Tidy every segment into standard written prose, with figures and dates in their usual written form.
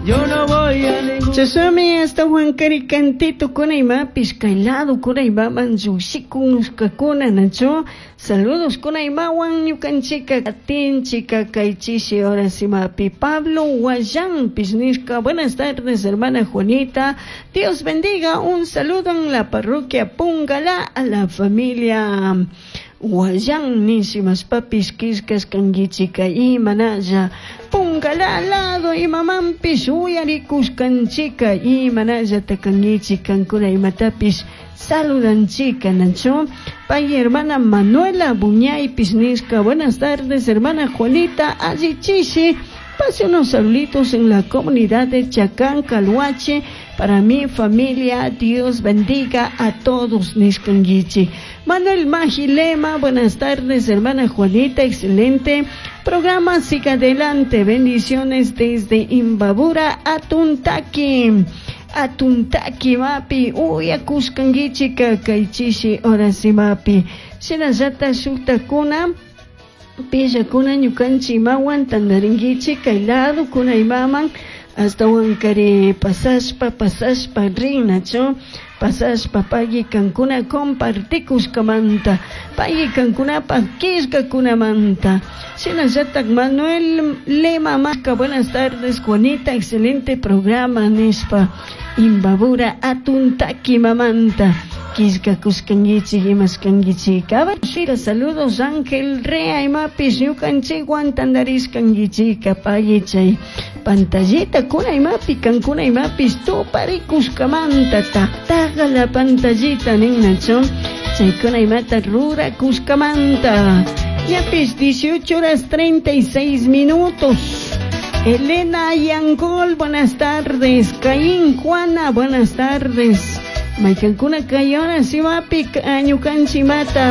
Yo no voy a ningún Chashnami ashtahuankari cantitokuna imapish kay ladokuna imaman llukshikushkakuna nachu saludos kuna imawan ñukanchika katinchika kay chishi horas imapi Pablo Guayanpish nishka buenas tardes hermana Juanita Dios bendiga un saludo en la parroquia Pungalá a la familia Guayan nishimashpapish killkashkankichika imanalla Pungalá lado imamanpish uyarikushkanchika imanallata kankichik kankuna imatapish saludanchika nachu pay hermana Manuela Buñaypish nishka buenas tardes hermana Juanita allichishi pase unos saluditos en la comunidad de Chacán, Calhuache, para mi familia, Dios bendiga a todos, nishkanguichi. Manuel Magilema, buenas tardes, hermana Juanita, excelente programa, siga adelante, bendiciones desde Imbabura, Atuntaqui. Atuntaqui mapi, uyakushkanguichika kaychishi horasimapi. Shinallata shuktakuna, pillakuna ñukanchik imawan tantarinkichik kay lado kuna imaman ashtawankari pasashpa pasashpa rin nachu pasashpa pagui kankuna compartikushkamanta pagui kankunapak killkakunamanta shinallatak Manuel Lema Maca buenas tardes Juanita excelente programa nishpa Imbabura Atuntaqui mamanta killkakushkankichik imashkankichik Shira saludos Ángel Rea imapish ñukanchikwan tantarishkankichika pagui chay pantallita kuna imapi kankuna imapish tuparikushkamanta taqtaqa la pantallita nin nachu chaykuna imata rurakushkamanta ñapish 18 horas 36 minutos Elena Yangol, buenas tardes. Caín Juana, buenas tardes. Maykankuna kay horas imapi ñukanchimata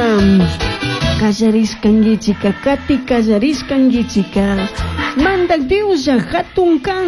kallarishkankichika kati kallarishkankichika mandak Dioslla hatun kan.